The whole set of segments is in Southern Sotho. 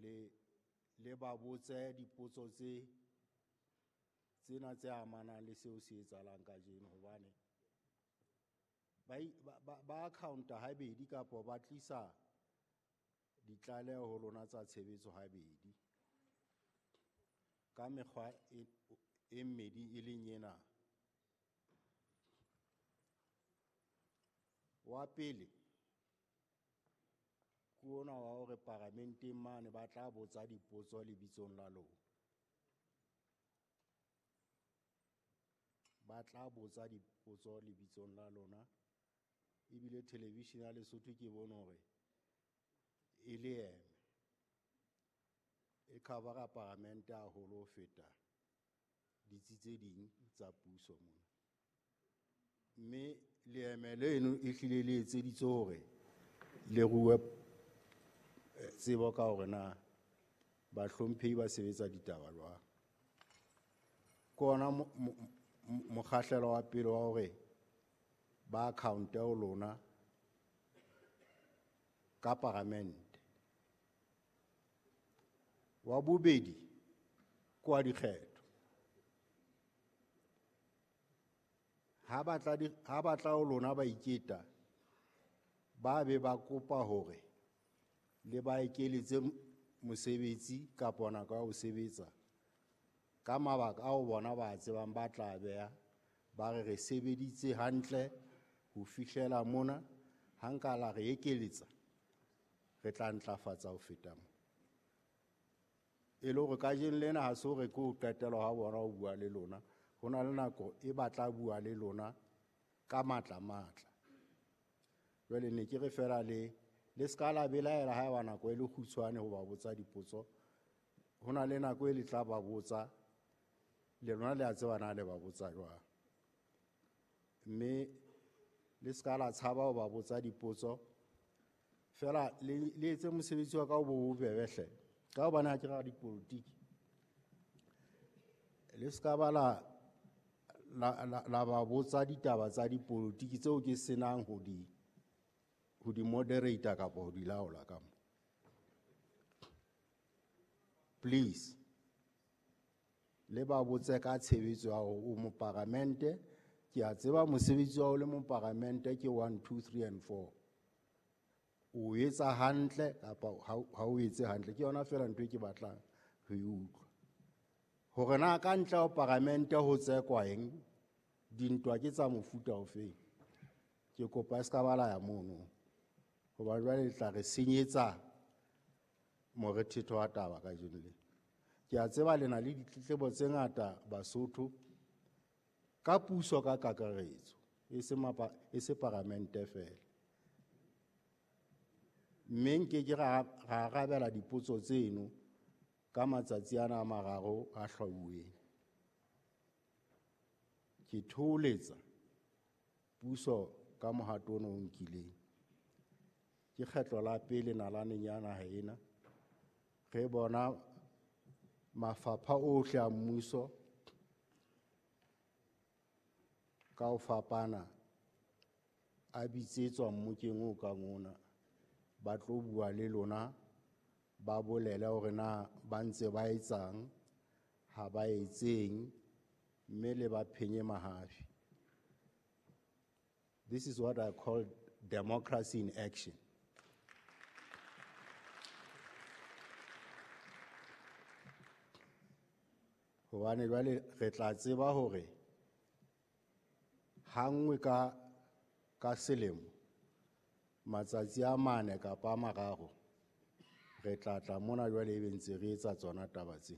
hore le ba botse dipotso tse tsena tse amanang le seo se etsahalang kajeno, hobane ba accounta habedi kapa ba tlisa ditlaleho ho lona tsa tshebetso habedi ka mekgwa e mmedi e leng ena. Wa pele ke ona wa hore paramenteng mane ba tla botsa dipotso lebitsong la lona. Ba tla botsa dipotso lebitsong la lona. Ebile television ya Lesotho ke bone hore e le eme e covera paramente haholo ho feta ditsi tse ding tsa puso mona. Mme leeme leno e hlile le etseditswe hore le rue tsebo ka hore na bahlomphehi ba sebetsa ditaba jwang. Ke ona mokgahlelo wa pele wa hore ba account-e ho lona ka paramente. Wa bobedi ke wa dikgetho. Ha batla ho lona ba iketa, ba be ba kopa hore le ba ekeletse mosebetsi kapa nako ya ho sebetsa ka mabaka ao bona ba tsebang ba tla beha, ba re re sebeditse hantle ho fihlela mona, ha nka la re ekeletsa re tla ntlafatsa ho feta mo. E le hore kajeno lena ha se hore ke ho qetelwa ha bona ho bua le lona, ho na le nako e ba tla bua le lona ka matla matla. Jwale ne ke re fela le ska la belaela ha eba nako e le kgutshwane ho ba botsa dipotso. Ho na le nako e le tla ba botsa, le lona le a tseba na le ba botsa jwang. Mme le ska la tshaba ho ba botsa dipotso, fela le etse mosebetsi wa ka o bo bobebe hle. Ka hobane ha ke ra dipolotiki, le ska ba la ba botsa ditaba tsa dipolotiki tseo ke senang ho di moderator kapa ho di laola ka mo. Please, le ba botse ka tshebetso ya hore o moparamente. Ke a tseba mosebetsi wa ho le moparamente ke 1, 2, 3 and 4. O etsa hantle kapa ha o etse hantle, ke yona fela ntho e ke batlang ho e utlwa. Hore na ka ntle ho paramente ho tsekwa eng, dintwa ke tsa mofuta ofeng, ke kopa e ska ba la ya mono, hoba jwale le tla re senyetsa morethetho wa taba kajeno lena. Ke a tseba le na le ditletlebo tse ngata Basotho ka puso ka kakaretso, e se paramente fela. Mme nke ke ra arabela dipotso tseno ka matsatsi ana a mararo a hlwauweng. Ke thoholetsa puso ka mohato ona o nkileng. Ke kgetlo la pele nalaneng ya naha ena re bona mafapha ohle a mmuso ka ho fapana a bitsetswa mmokeng o kang ona, ba tlo bua le lona, ba bolele hore na ba ntse ba etsang, ha ba etseng, mme le ba phenye mahafi. This is what I call democracy in action. Hobane jwale re tla tseba hore ha nngwe ka selemo, matsatsi a mane kapa a mararo, re tla tla mona jwale ebe ntse re etsa tsona taba tse.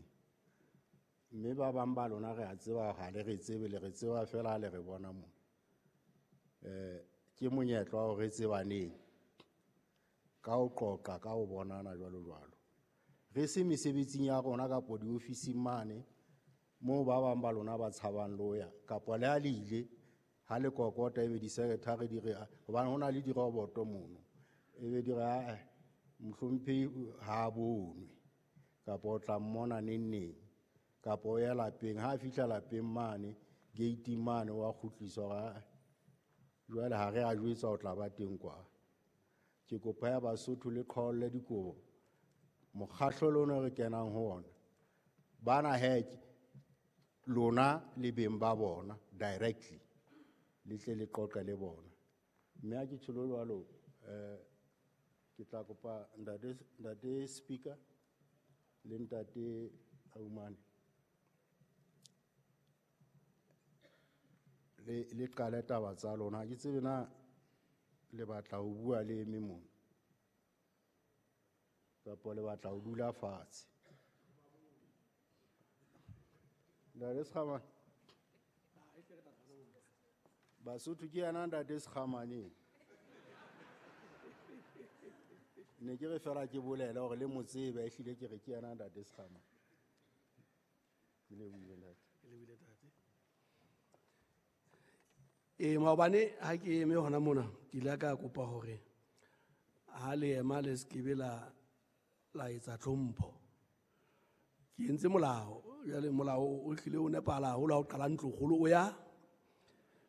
Mme ba bang ba lona re a tseba ha le re tsebe, le re tseba fela ha le re bona mona. Ke monyetla wa hore re tsebaneng ka ho qoqa, ka ho bonana jwalo jwalo. Re se mesebetsing ya rona kapo diofising mane moo ba bang ba lona ba tshabang le ho ya, kapa le ha le ile ha le kokota ebe di-secretary di re, hobane ho na le diroboto mono, ebe di re, ae, mohlomphehi ha a bonwe, kapa o tla mmona neng neng, kapa o ya lapeng, ha a fihla lapeng mane gate mane wa kgutliswa hore, ae, jwale ha re a jwetsa o tla ba teng kwa. Ke kopa ya Basotho le qholle dikobo Mokgahlelo ono re kenang ho ona, bana he lona le beng ba bona directly, le tle le qoqe le bona. Mme ha ke tjholo jwalo, ke tla kopa ntate Speaker le ntate Aumane le qale taba tsa lona. Ha ke tsebe na le batla ho bua le eme mona kapa le batla ho dula fatshe. Ntate Sekgamane, Basotho ke yena ntate Sekgamane. Ne ke re fela ke bolele hore le mo tsebe, ehlile ke re ke yena ntate Sekgamane. Ke lebohile ntate. Ke lebohile ntate. Maobane ha ke eme hona mona, ke ile ka kopa hore ha le ema le se ke be la etsa tlhompho. Ke entse molao, jwale molao o hlile o nepahala haholo ha o qala ntlokgolo o ya,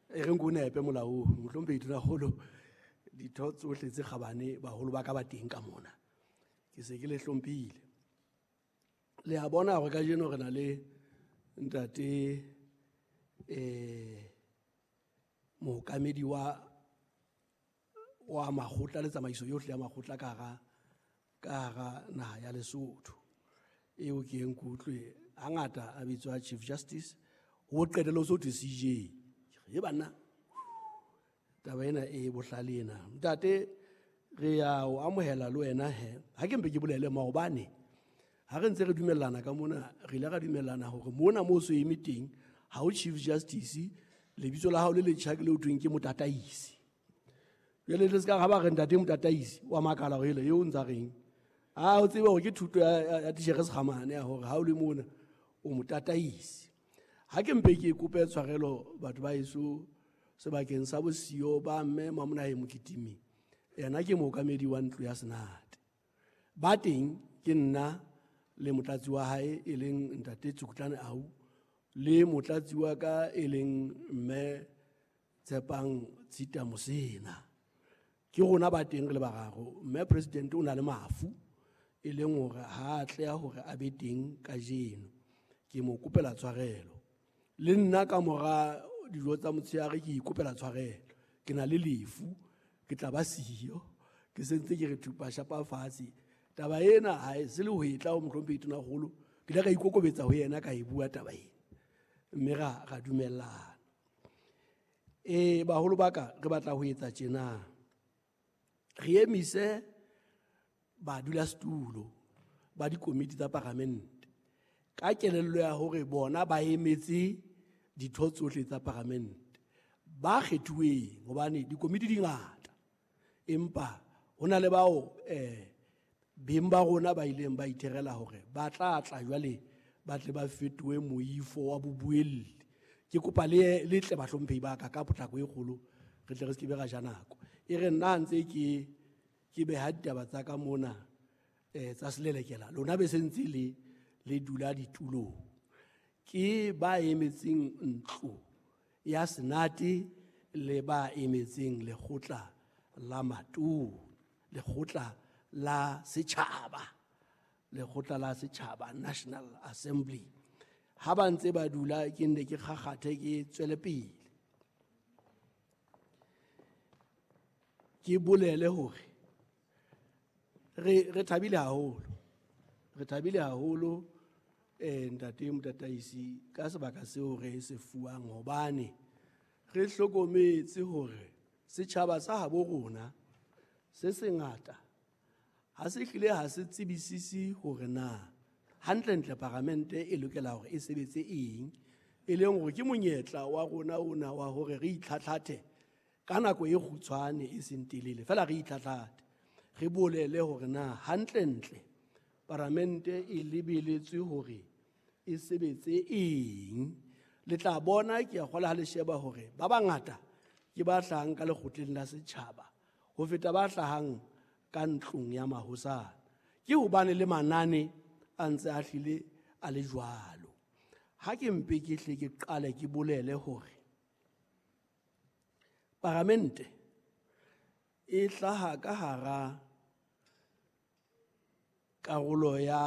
e reng ke o nepe molao oo, mohlomphehi Tonakgolo, ditho tsohle tse kgabane baholo ba ka ba teng ka mona. Ke se ke le hlomphile. Le a bona hore kajeno re na le ntate, mookamedi wa makgotla le tsamaiso yohle ya makgotla ka hara naha ya Lesotho. Eo ke eng ke utlwe hangata a bitswa Chief Justice, ho qetelle ho so thwe CJ. Ke re, banna, taba ena e bohlale ena. Ntate, re ya o amohela le wena he. Ha ke mpe ke bolele maobane, ha re ntse re dumellana ka mona, re ile ra dumellana hore mona moo so eme teng, ha o Chief Justice, lebitso la hao le letjha ke le ho thweng ke motataisi. Jwale le se ka ha ba re ntate motataisi, wa makala hore ele eo o ntsa reng. A o tsebe hore ke thuto ya titjhere Sekgamane ya hore ha o le mona o motataisi. Ha ke mpe ke kope tshwarelo batho ba heso sebakeng sa bosiyo ba mme Mamonahe Mokitimi, yena ke mookamedi wa ntlo ya Senate. Ba teng ke nna le motlatsi wa hae e leng ntate Tsukutlane Au, le motlatsi wa ka e leng mme Tshepang Tshita Mosena. Ke rona ba teng re le bararo. Mme president o na le mafu e leng hore ha a tleha hore a be teng kajeno. Ke mo kopela tshwarelo. Le nna ka mora dijo tsa motshehare ke ikopela tshwarelo. Ke na le lefu, ke tla ba siyo, ke sentse ke re thupa shapa fatshe. Taba ena ha e se le ho e tla ho mohlomphehi Tonakgolo, ke ile ka ikokobetsa ho yena ka e bua taba ena. Mme ra dumellana. Baholo ba ka, re batla ho etsa tjena. Re emise badulasetulo ba dikomiti tsa paramente ka kelello ya hore bona ba emetse ditho tsohle tsa paramente ba kgethuweng, hobane dikomiti di ngata, empa ho na le bao, beng ba rona ba ileng ba itherela hore ba tla tla jwale ba tle ba fetohe moifo wa bobuelli. Ke kopa le tle bahlomphehi ba ka ka potlako e kgolo, re tle re se ke be ra ja nako. E re nna ntse ke beha ditaba tsa ka mona, tsa selelekela, lona be se ntse le dula ditulong. Ke ba emetseng ntlo ya Senate le ba emetseng lekgotla la matona, lekgotla la setjhaba, lekgotla la setjhaba, National Assembly. Ha ba ntse ba dula, ke nne ke kgakgathe, ke tswele pele. Ke bolele hore re thabile haholo. Re thabile haholo, ntate motataisi, ka sebaka seo re se fuwang, hobane re hlokometse hore setjhaba sa habo rona se sengata ha se hlile ha se tsebisisi hore na hantlentle paramente e lokela hore e sebetse eng, e leng hore ke monyetla wa rona ona wa hore re itlhatlhathe ka nako e kgutshwane e seng telele, fela re itlhatlhathe, re bolele hore na hantlentle paramente e lebeletswe hore e sebetse eng. Le tla bona, ke a kgolwa ha le sheba hore ba bangata ke ba hlahang ka lekgotleng la setjhaba ho feta ba hlahang ka ntlong ya mahosana. Ke hobane le manane a ntse a hlile a le jwalo. Ha ke mpe ke hle ke qale ke bolele hore paramente e hlaha ka hara Karolo ya